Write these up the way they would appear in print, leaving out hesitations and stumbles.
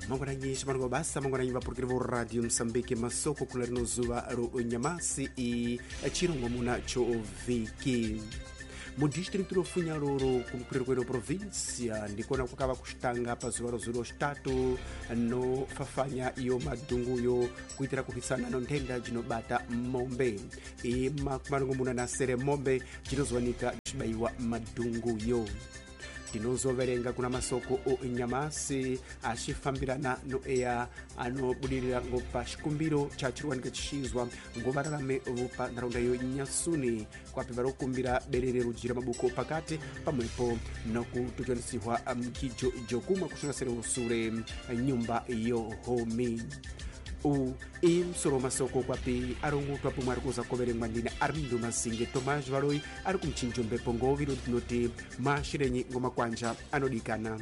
Mangwananyi ximango basa mangwananyi vapurukiri vo radio Msambiki masoko kula rino zuva ro nyamasi i chirongomuna cho vhiki mudistritu ro Funyaroro kumupuriri kweno provinsia ndikona kwakava kuxitanga pazuva ro zulo xitatu no fafanya iyo madunguyo kuitira kuhwisana no nthenda jinobata mombe i makumalongomuna na sere mombe jinozowanika jibayiwa madunguyo. Tinozoverenga kuna masoko o nyamasi axifambirana no eya anobudirira ngo pa xikumbiro cha chiriwanika chixizwa ngo vararame vopa nharaunda yo Nyasuni kwapi varikukumbira berere rujira mabuko pakati pamwepo nokutojonisihwa mkijo jokumwa kuxongasere usure nyumba yo homi. U i msoro masoko kwapi arongotwa pomwe ari kuza koverengwa ndine Armindo Masinge Tomás Valoi ari kumchinjo mbepo ngoviro tinoti mashirenyi ngomakwanja anodikana.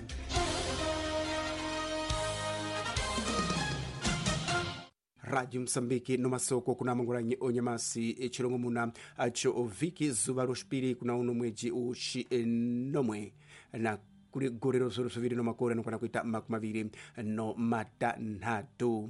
Radio Msambiki no masoko kuna mangulanyi onyamasi echilongomuna acho oviki zuva roxipiri kuna uno mweji uxi nomwe na kuri gore rozoro zviviri nomakore anokwana kuita makumi maviri no matanhatu.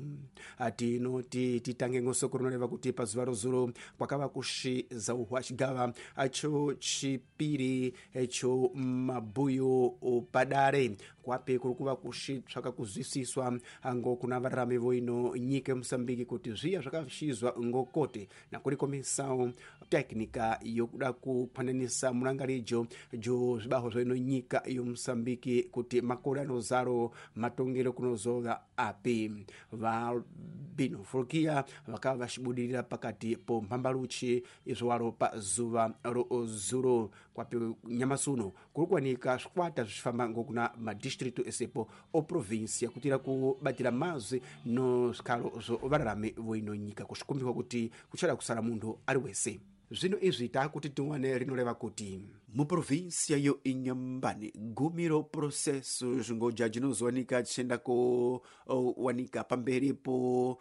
Tinoti titange ngosoko rinoreva kuti pazuva rozuro kwakava kuxizauhwa xigava cho chipiri cho mabhuyo padare kwapi kuri kuva kuxitsvaka kuzwisiswa ngo kuna vararami voino nyika yeMosambiki kuti zviya zvakaxizwa ngokote nakuri komisao teknika yokuda kuphananisa mulangarijo jo zvibaho zvoino nyika yoMosambiki kuti makore anozaro matongero kunozova api. Vabino Folkia vakava vaxibudirira pakati po mhambaluchi izvo pa zuva rozuro kwapi nyamasi uno kuri kuwanika zvikwata zvichifamba ngokuna madistritu esepo o provinsia kutira kubatira mazwi no zvikhalo zvo vararami voino nyika kuxikumbirwa kuti kuchada kusara munthu ari wese. Zvino izvi taakuti tiwane rinoreva kuti muprovinsia yo Inhambane gumi ro processo zvingoja jinozowanika chienda kowanika pamberi po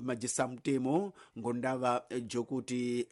majisa mutemo ngondava jokuti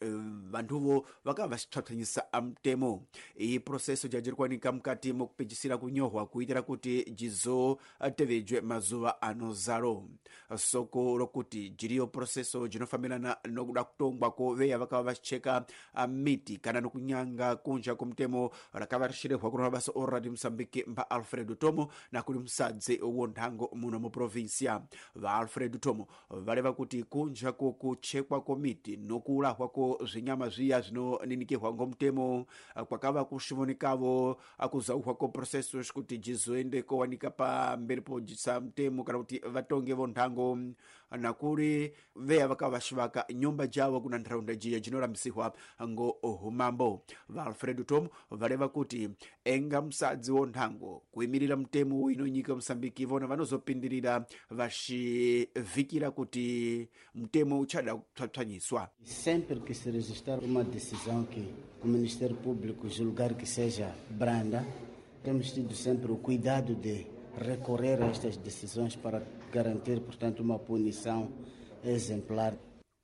vanthuvo vakava vachipswapsanyisa mutemo. Iyi processo jajiri kuwanika mukati mokupejisira kunyohwa kuitira kuti jizotevejwe mazuva anozaro. Soko rokuti jiriyo processo jinofambirana nokuda kutongwa ko veya vakava vachicheka miti kana nokunyanga kunja kumutemo rakava rixirehwa kuna mabasa o Radio Msambiki mba Alfredo Tomo na kuli musadzi wonthango muno muprovinsia. Va Alfredo Tomo valeva kuti kunja ko kuchekwa ko miti nokuulahwa ko zvinyama zviya zvinoninikirwa ngomutemo kwakava kuxivonikavo akuzauhwa ko processos kuti jizoende kowanika pamberi po jisa mutemo kana kuti vatonge vonthango nakuri veya vakava vaxivaka nyumba javo kuna ntharaunda jiya jinorambisihwa ngo humambo. Va Alfredo Tomo valeva kuti enga musadzi wonthango kuimirira mutemo ino nyika Mosambiki vona vanozopindirira vaxivhikira kuti mutemo uchada kupswapswanyiswa. Sempre que se registrar uma decisão que o Ministério Público julgar que seja branda, temos tido sempre o cuidado de recorrer a estas decisões para garantir, portanto, uma punição exemplar.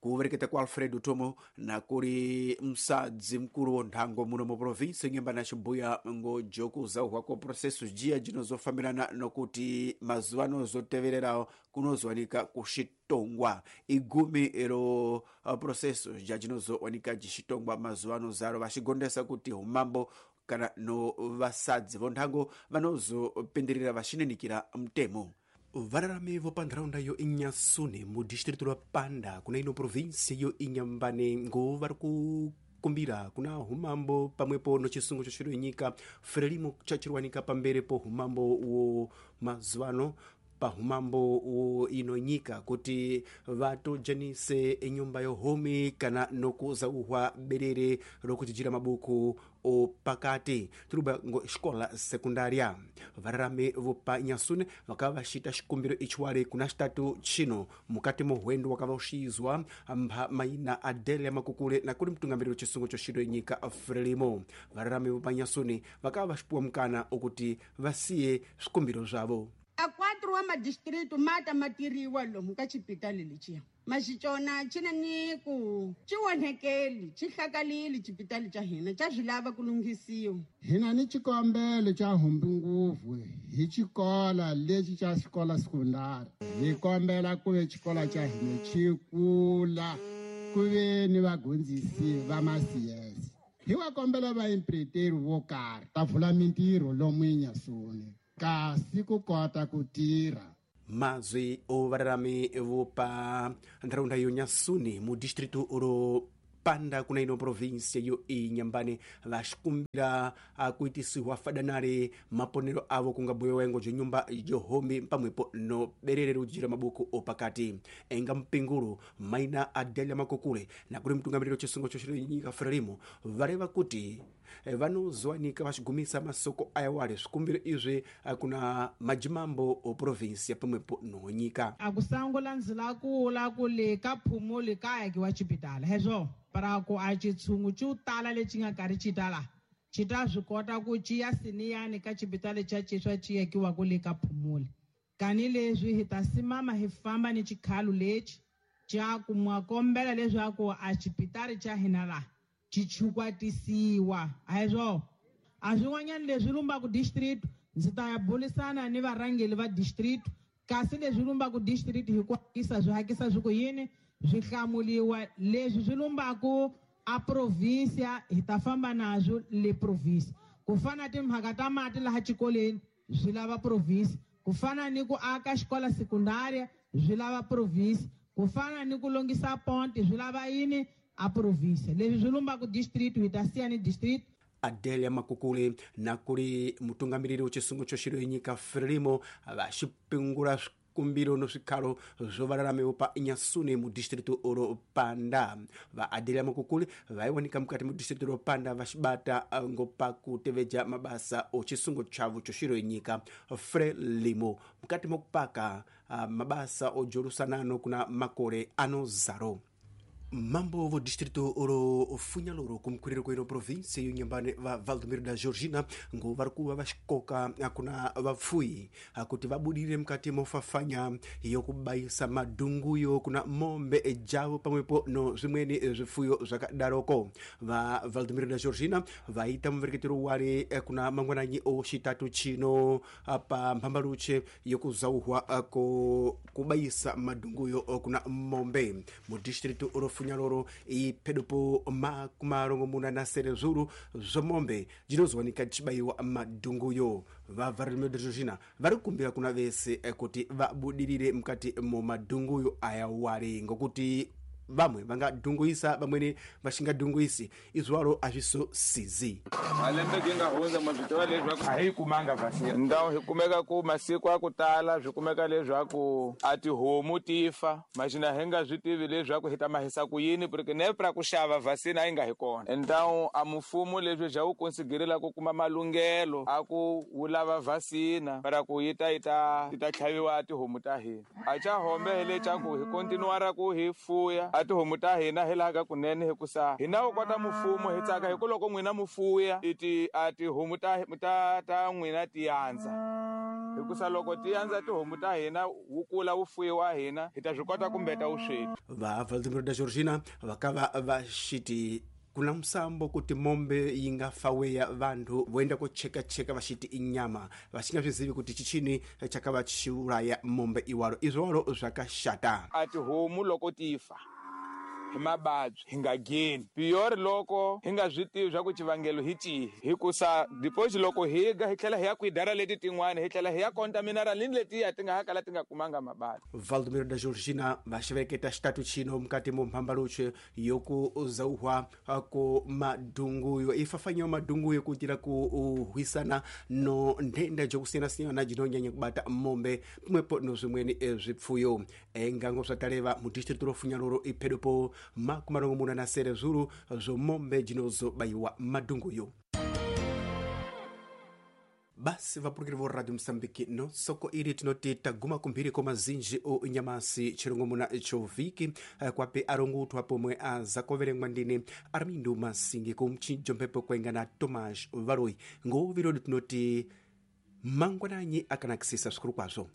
Kuvereketa kwa Alfredo Tomo na kuli msadzi mkulu wonthango muno mu provinsi Inhambane axibuya ngo jokuzauhwa ko processo jiya jinozofambirana nokuti mazuva anozotevererawo kunozowanika kuxitongwa igumi ro processo ja jinozowanika jixitongwa mazuva anozaro vaxigondesa kuti umambo kana no vasadzi vonthango vanozopindirira vaxininikira mutemo. Vararami vopa ntharaunda yo Inhasune mudistritu ra Panda kuna ino provinsia yo Inhambane ngo vari kukumbira kuna humambo pamwepo no chisungo cho nyika Frelimo chachiriwanika pamberi po humambo wo mazuvano pahumambo wo ino nyika kuti vatojanise enyumba yohomi kana nokuzauhwa berere rokuchichira mabuku opakati tiruba ngo xikola sekundaria. Vararami vopa Nyasune vakava vaxita xikumbiro ichiwale kuna xitatu chino mukati mo hwendo wakava uxizwa mpha maina Adele Makukule na kuli mtungamiriri wa chisungo cho xiro nyika Frelimo. Vararami vopa Nyasune vakava vaxipuwa mukana okuti vasiye swikumbiro zvavo. A 4 wa madistritu mata matiriwa lomu ka xipitali lexiya. Maxicona xi na ni ku xi onhekeli xi hlakalile xipitali xa hina xa swi lava ku lunghisiwa. Hina ni xikombelo xa humbi ngopfu hi xikola lexi xa xikola sekondari. Hi kombela ku ve xikola xa hina xi kula ku ve ni vadyondzisi va ma-CS. Hi va kombela vaimpireteri vo karhi ta vula mintirho lomu eNyasuni kasi ku kota ku tirha. Mazwi ovararami vopa ntharaunda yo Nyasuni mu distrito ro Panda kuna ino província yo Inhambane vaxikumbira kuitisiwa fadanale maponero avo kunga buyowengo jo nyumba johombi pamwepo no berere ujira mabuku opakati enga mpingulo maina Adelia Makukule na kuli mtungamiriro chisungo choxinyika Frelimo valeva kuti vanozowanika vaxigumisa masoko ayawale swikumbiro izwi kuna majimambo o província pamwepo no nyika. Akusangula ndzila kula kule ka phumuli ka akiwa xipitala hezwo para ku a xitshungu xo tala lexi nga karhi xi tala xi ta swi kota ku ciya siniyani ka xipitali xa xiswa xi akiwa kule ka phumuli kani leswi hi ta simama hi famba ni xikhalo lexi xa ku mwakombela leswaku a xipitali xa hina laha xi chukwatisiwa a hi swona a swin'wanyana leswi lumbaku district ndzi ta ya burisana ni varhangeri va district kasi leswi lumbaku district hi ku hakisa swi hakisa swi ku yini swi hlamuliwa leswi swi lumbaku a provinsia hi ta famba nazwo le province ku fana timhaka ta mati laha xikolweni swi lava province ku fana ni ku aka xikola sekundaria swi lava province ku fana ni ku longisa ponti swi lava yini a province leswi swi lumbaku district hi ta siya ni district. Adelia Makukule na kuli mutungamiriri wechisungo choxiro yenyika Frelimo vaxipingula swikumbiro no swikhalo swo valalamiwa pa Nyasuni mu distrito ro Panda. Va Adelia Makukule vaiwanika mukati mu distrito ro Panda vaxibata ngopa kuteveja mabasa o chisungo chavo choxiro yenyika Frelimo mukati mokupaka mabasa ojolusanano kuna makore anozaro. Mambo vo distrito oro Funhaloro kumkwiriro kwino província yo Inhambane va Valdomiro da Georgina ngo vari kuva vaxikoka kuna vapfuyi kuti vabudire mukati mofafanya yokubayisa madhunguyo kuna mombe javo pamwepo no zvimweni zvifuyo zvakadaroko. Va Valdomiro da Georgina vaita muvereketero wari kuna mangwananyi o xitatu chino pa mhambaluche yokuzauhwa ko kubayisa madhunguyo kuna mombe mu distrito oro Funhaloro iphedopo makumarongomuna na sere zuru zvomombe jinozowanika jichibayiwa madhunguyo. Va Valdomiro da Georgina vari kukumbira kuna vese kuti vabudirire mukati mo madhunguyo aya wari ngokuti vamwe vangadhunguisa vamweni vaxingadhunguisi izwalo azvisosizi. Malembe ki nga hundza mavito leswaku a hi kumanga vaccine ndawo hi kumeka ku masiku a ku tala swi kumeka leswaku a tihomu ti fa maxina hi nga swi tivi leswaku hi ta mahisa ku yini porque nepra ku xava vaccine a yi nga hi kona ndawo a mfumo leswi bya wu konsiderela ku kuma malunghelo a ku wu lava vaccine para ku yi ta yi ta ti ta tlhaviwa tihomu ta hina a cha hombe hi le xa ku hi continuara ku hi fuya a tihomu ta hina hi laha ka kunene hikusa hina wu kota mfumo hi tsaka hi ku loko n'wina mufuya iti a tihomu ta ta ta n'wina ti yandza hikusa loko ti yandza tihomu ta hina wu kula wu fuyiwa hina hi ta swi kota kumbeta vusweti. Va Valdomiro da Georgina vakava va xiti kuna musambo kuti mombe yi nga faweya vanhu voenda kochekacheka vaxiti inyama vaxinga swizivi kuti chichini chakava xiulaya mombe iwalo izwalo zvakaxata. A tihomu loko ti fa hi mavabyi hi nga geni piyori loko hi nga swi tivi swa ku xivangelo hi cihi hikusa deposit loko hi ga hi tlhela hi ya kwidara leti tin'wana hi tlhela hi ya contaminara ni letiya ti nga ha kala ti nga kumanga mavabyi. Valdomiro da Georgina vaxiveketa xitatu chino mukati mo mhambaluche yoku zauhwa ko madhunguyo ifafanyiwa madhunguyo kuitira kuhwisana no nthenda jokusiyanasiyana jinonyanya kubata mombe pamwepo no zvimweni zvipfuyo. Engango zvataleva mu distrito ro Funhaloro iphedopo makumarongomuna na sere zuru zvomombe jinozobayiwa madhunguyo. Basi vapurukiri vo Radio Mosambiki no soko iri tinoti taguma kumphiri ko mazinji o nyamasi chirongomuna choviki kwape arongutwa pomwe azakoverengwa ndine Armindo Masingi kumchinjo mphepo kwenga na Tomás Valoi ngovirodi tinoti mangwananyi akanakisisa svikuru kwazvo.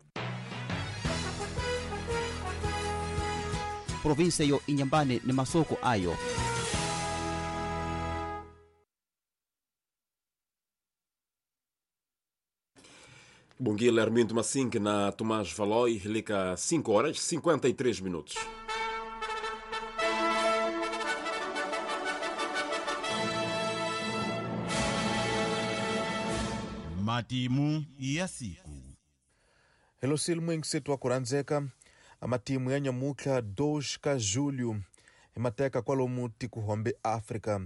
Província yo Inhambane ni masoko ayo. Bom dia, Armindo Massing na Tomás Valoi, liga 5 horas 53 minutos. Matimu ya siku. Helo silmu wa kuranzeka amatimu ya nyamuka 2 ka julho himateka kwalomu tikuhombe África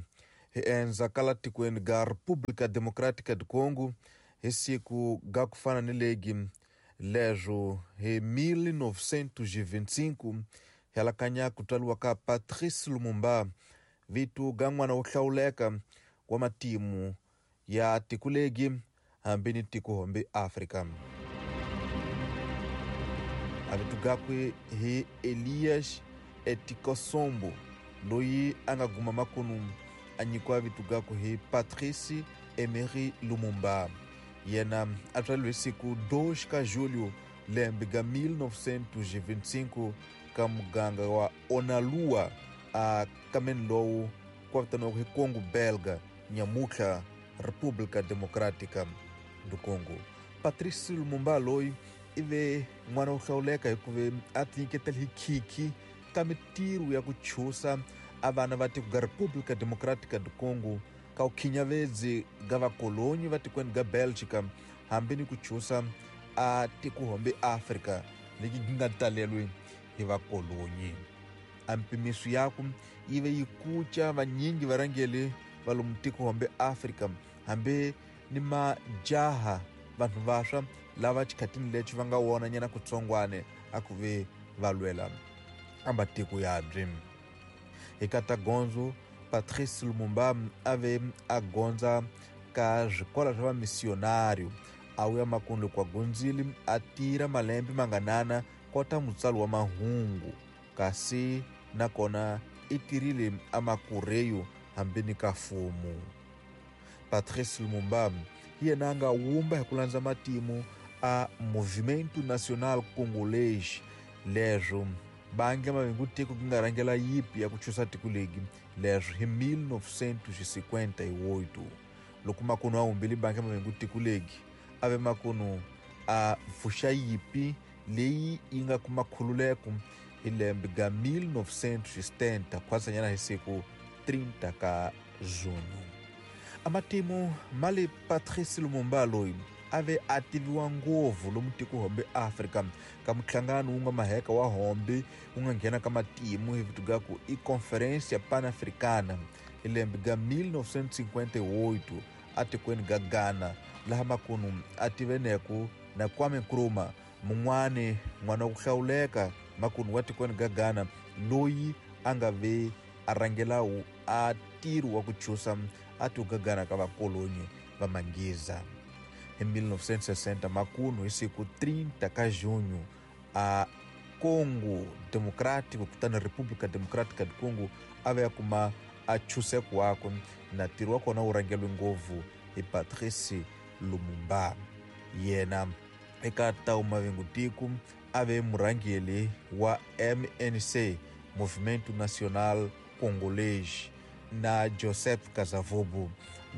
hienza kala tikweni ga República Democrática do Congo hi siku ga kufana ni legi lezo hi 1925 hialakanya kutwaliwa ka Patrice Lumumba vitu ga n'wana wo hlawuleka wa matimu ya tikulegi hambi ni tikuhombe África. Avitu gakwe hi Elias Etikosombo loyi a nga guma makunu a nyikiwa vitu gakwe hi Patrice Emery Lumumba. Yena a tswariwe hi siku 2 ka julho lembe ga 1925 ka muganga wa Onalua a kameni lowu kwa vitaniwaka hi Congo Belga nyamutlha República Democrática do Congo. Patrice Lumumba loyi i ve n'wana wo hlawuleka hikuva a tinyiketela hi khikhi ka mitirho ya ku chusa a vana va tiko ga República Democrática do Congo ka ukhinyavedzi ga vakolonyi va tikweni ga Belgica hambi ni ku chusa a tikuhombe Africa leti nga talelwe hi vakolonyi. A mpimiso yaku yi ve yi kuca vanyingi varhangeli va lomu tikuhombe Africa hambi ni majaha vanhu vaswa lava xikhatini lexi va nga wona nyana kutsongwane a ku ve va lwela a matiko yabyi. Hi kata gondzo Patrice Lumumba a ve a gondza ka swikolo swa vamissionário a wuya makundu kwa gondzile a tirha malembe manganana kota mutsali wa mahungu kasi nakona i tirhile a makureyo hambi ni ka fumu. Patrice Lumumba hi yena a nga wumba hi ku landza matimu a Movimento Nacional Congolês leswo bangi mavingu tiko ku nga rhangela yipi ya ku chusa tiko legi leswo hi 1958 loko makunu a humbile bangi mavingu tiko legi a ve makunu a pfuxa yipi leyi yi nga kuma khululeko hi lembe ga 1970 khwasanyana hi siku 30 ka junho. Amatimu mali Patrice Lumumba loyi a ve a tiviwa ngopfu lomu tikuhombe Africa ka muhlangano wu nga maheka wa hombe wu nga nghena ka matimu hi vito ga ku i Conferência Pan-Africana hi lembe ga 1958 atikweni ga Ghana laha makunu a tiveneku na Kwame Nkrumah mun'wani n'wana wa ku hlawuleka makunu wa tikweni ga Ghana loyi a nga ve a rhangelawu a ntirho wa ku chusa a tiko ga Ghana ka vakolonyi va Manghiza. Hi 1960 makunu hi siku 30 ka junho a Congo Democrático kutani República Democrática do Congo a ve a kuma a chuseko wakwe na ntirho wa kona wu rhangeliwe ngopfu hi Patrice Lumumba. Yena eka tawu mavingu tiko a ve murhangeli wa MNC Movimento Nacional Congolês na Joseph Kasavubu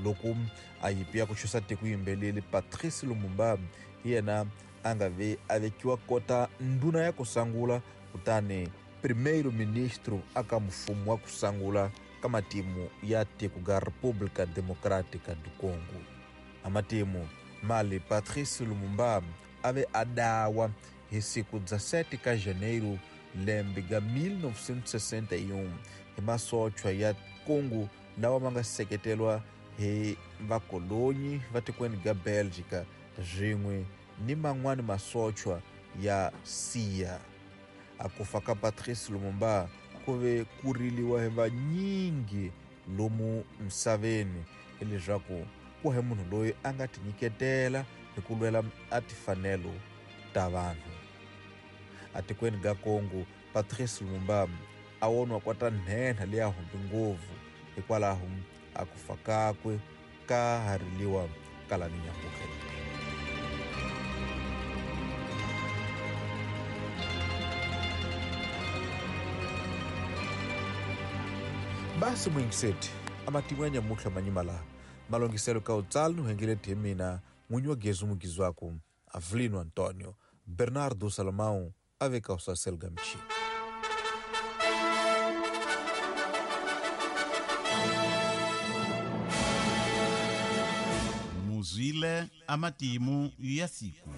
loko a yipi ya ku chusa tiko yimbeleli Patrice Lumumba hi yena a nga ve a vekiwa kota ndhuna ya ku sangula kutani primeiro ministro aka mfumo wa ku sangula ka matimu ya tiko ga República Democrática do Congo. A matimu mali Patrice Lumumba a ve a dawa hi siku 17 ka janeiro lembe ga 1961 hi masochwa ya Congo lawa ma nga seketelwa hi vakolonyi va tikweni ga Belgica swin'we ni man'wani masochwa ya Siya. A ku fa ka Patrice Lumumba ku ve ku riliwa hi vanyingi lomu misaveni hileswaku ku he munhu loyi a nga tinyiketela hi ku lwela a tifanelo ta vanhu. Atikweni ga Congo Patrice Lumumba a woniwa kwata nhenha leya humbi ngopfu hikwalaho a ku fa kakwe ka ha riliwa kala ni nyamuka. Basi muyingiseti amatimu ya nyamutlha manyima laha malongiselo ka utsali nuhengeleti hi mina n'winyi wa gezi mugizwaku Avelino Antonio Bernardo Salomão aveka usasel gamchi. Muzwile amatimu ya siku.